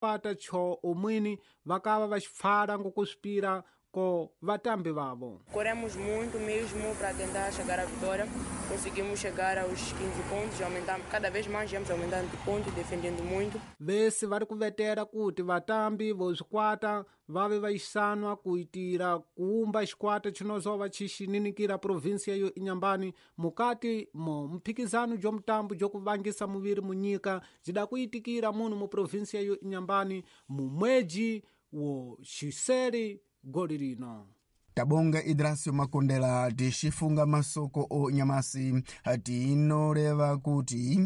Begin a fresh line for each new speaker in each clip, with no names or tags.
Pata cho omwini vakava vaxipfala ngokuswipira ko vatambi vavo.
Corremos muito mesmo para tentar chegar à vitória. Conseguimos chegar aos 15 pontos, aumentamos cada vez mais, íamos aumentando de pontos, defendendo muito.
Vesi vari kuvetera kuti vatambi voswikwata vave vayisanwa kuitira kuumba xikwata xinozova xixininikira província yo Inhambane mukati mo mphikizano jo mutambo jokuvangisa muviri munyika jida kuitikira muno mu província yo Inhambane mu mweji wo xiseri goli lino.
Tabonga Idrasio Makondela tixifunga masoko o nyamasi tinoreva kuti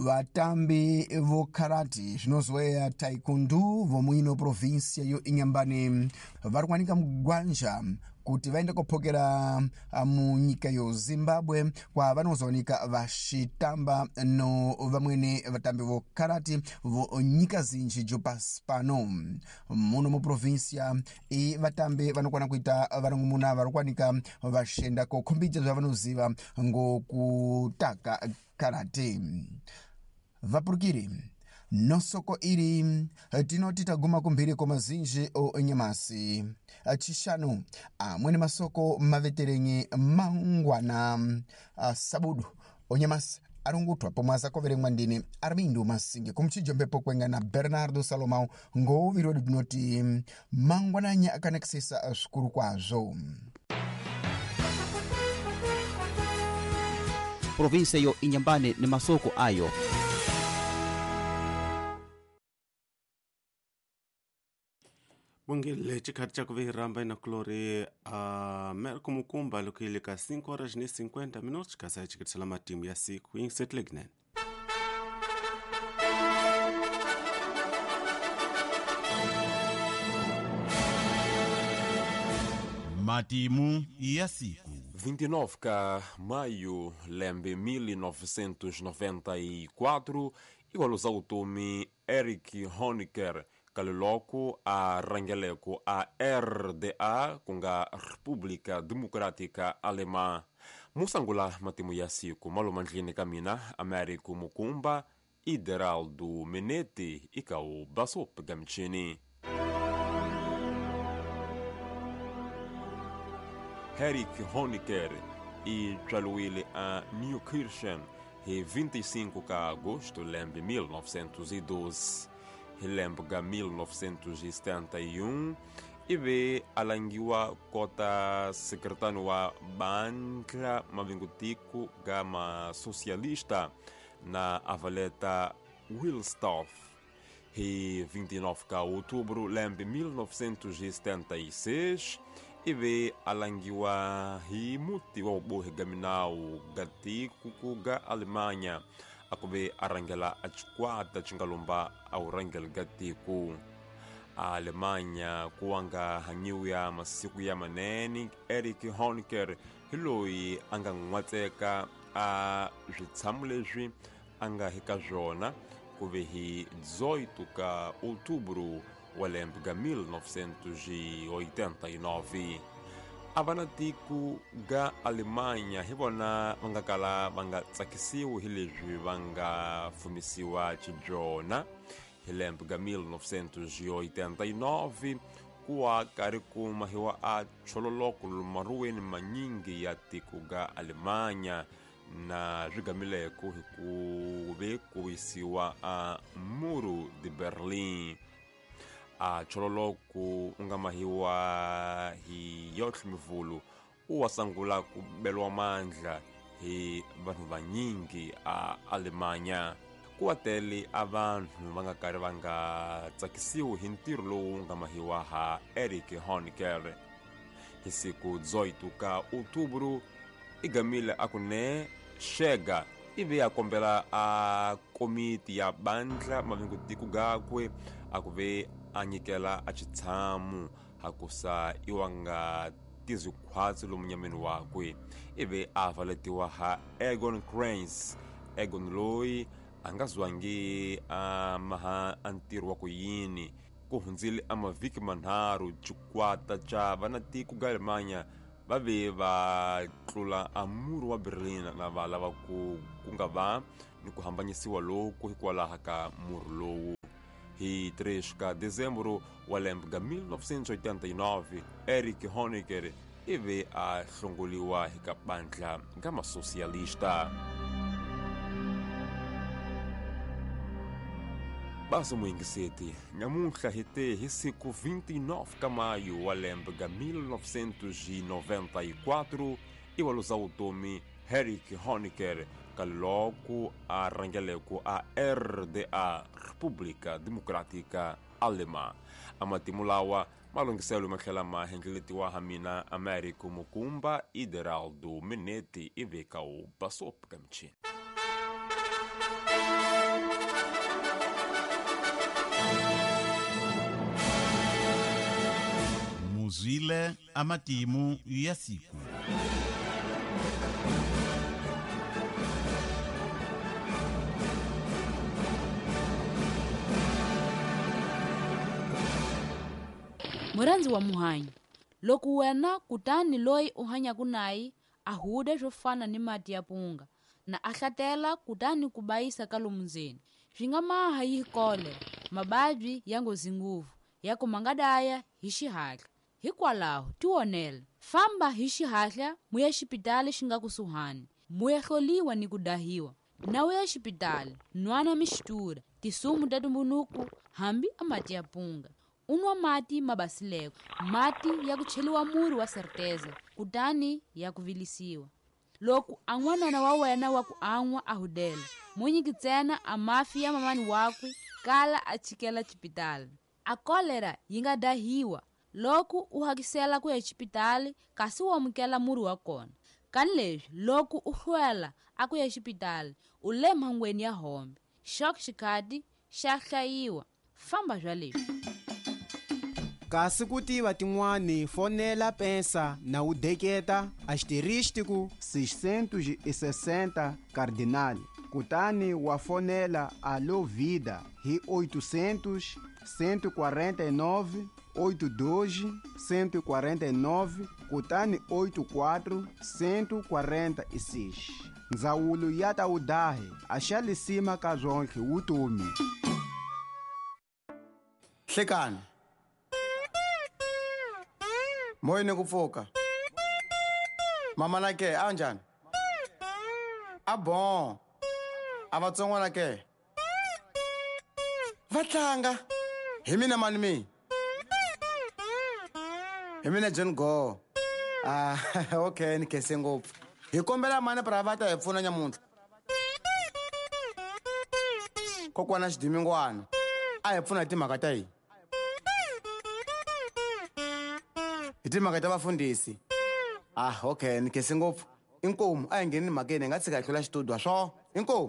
vatambi vokharati zvinozoeya taekwondo vomuino província yo Inhambane vari kuwanika mugwanja kuti vaende kophokera munyika yo Zimbabwe kwa vanozowanika vaxitamba no vamwene vatambi vokharati vo nyika zinji jo pasi pano. Muno mu província i vatambi vanokwana kuita varongomuna vari kuwanika vaxenda kokhombidza zvavanoziva ngokutaka karate. Vapurukiri nosoko iri tinoti taguma kumphiri kwa mazinji o nyamasi chixanu amwene masoko maveterenyi mangwana sabudu onyamasi arungutwa pomwe azakoveremwa ndine Armindo Masinge kumchijombepo kwenga na Bernardo Salomão ngouviri wedu tinoti mangwananya akanakisisa zvikuru kwazvo.
Província yo Inhambane ni masoko ayo.
Bongile chikati chakuvihiramba inakulori Merco Mukumba lukilika 5 horas ne 50 minutos kasa chikitisela matimu ya siku insetlegnene.
Matimu ya siku.
29 ka maio lembe 1994 igualusa utomi Eric Honecker kaliloko a rangeleko a RDA kunga República Democrática Alemã. Musangula matimu ya siku malomandlini ka mina Américo Mukumba Ideraldo Menete ikau basop gamchini. Eric Honecker e tswaliwile a Neukirchen hi 25 ka agosto lembe 1912. Hi lembe ka 1971 ive alangiwa kota sekretano wa bandla mavingutiko ga masocialista na avaleta Wilsdorf. Hi 29 ka outubro lembe 1976 ive alangiwa hi muti wa ubohi ga minawu ga tiko ga Alemanha akuve arangela a chikwata chingalomba a urangela ga tiko a Alemanha kuwanga hanyiwa ya masiku ya manene. Eric Honecker hi loyi a nga n'watseka a switshamu leswi a nga hika swona kuve hi 18 ka outubro wa lembe ga 1989. A va na tiko ga Alemanha hi vona va nga kala va nga tsakisiwi hi leswi va nga fumisiwa xibyona. Hi lembe ga 1989 kuwa karhi ku mahiwa a chololoko maruweni manyingi ya tiko ga Alemanha na swigamileko hi ku ve ku wisiwa a Muro de Berlin. A chololoko u nga mahiwa hi yotlhe mivulu u wa sangula ku beliwa mandla hi vanhu vanyingi a Alemanha. Ku wa tele a vanhu va nga karhi va nga tsakisiwi hi ntirho lowu nga mahiwa ha Eric Honecker. Hi siku 18 ka outubro i gamile a ku ne xega ivi a kombela a komiti ya bandla mavingutiko gakwe a ku ve a nyikela a xitshamu hakusa iwa nga tizikhwatsi lomu nyameni wakwe. Ivi a valetiwa ha Egon Krenz. Egon loyi a nga zwangi a maha a ntirho wa ku yini. Ku hundzile a mavhiki manharhu xikwata xa vanatiko ga Alemanha va ve va tlula a muru wa Berlin na va lava ku nga va ni ku hambanyisiwa loku hikwalaho ka murhi lowu. Hi 3 ka dezembro wa lembe ga 1989 Erich Honecker ivi a hlongoliwa hi ka bandla ga masosialista. Basi muyingiseti, nyamuntlha hi te hi siku 29 ka maio wa lembe ga 1994 i wa luza vutomi Erich Honecker ka loko a rhangeleko a RDA, República Democrática Alemã. A matimu lawa malunghiselo ma tlhela ma hendleletiwa ha mina Américo Mukumba Ideraldo Menete ivi ka wu basop ka michini.
Muzwile amatimu ya siku.
Murhandzi wa muhanyi, loko wena kutani loyi u hanyaka naye a huda swo fana ni mati ya punga na a hlatela kutani ku bayisa ka lomu ndzeni, swi nga maha yi kolera, mababyi ya nghozi ngopfu ya ku ma nga daya hi xihatla. Hikwalaho tionela, famba hi xihatla muya xipitali xi nga kusuhani, muya hloliwa ni ku dahiwa. Na u ya xipitali, nwana mixtura, tisumu ta tumbunuku hambi a mati ya punga. U nwa mati ma basileko, mati ya ku cheliwa murhi wa certeza kutani ya ku vilisiwa. Loko a n'wanana wa wena wa ku an'wa a hudela, mo nyiki ntsena a mafi ya mamani wakwe kala a chikela xipitali. A kolera yi nga dahiwa loko u hakisela ku ya xipitali kasi u amukela murhi wa kona. Kani leswi loko u hlwela a ku ya xipitali u le mhangweni ya hombe. Xok xikhati xa hlayiwa. Famba bya leswi.
Kasi ku tiva tin'wani fonela pensa na u deketa asterístico 660 cardinal kutani wa fonela Alô Vida hi 800 149 82 149 kutani 84 146. Ndzawulo ya ta udahi a xa lisima ka zwonke wutomi.
Hlekani. Moyeni ku pfuka. Mama na ke a njhani? A bon. A vatsongwana ke? Va tlanga. Hi mina mani mi? Hi mina John Go. Ah, okay, ni khense ngopfu. Hi kombela mani pra va ta hi pfuna nyamuntlha. Kokwana Xidimingwana a hi pfuna hi timhaka ta hina. Hi timhaka ta vafundhisi. Ah, okay, ni khense ngopfu. Inkomu a hi ngheni mhakeni hi nga tshika hi hlula xitudio swo. Inkomu.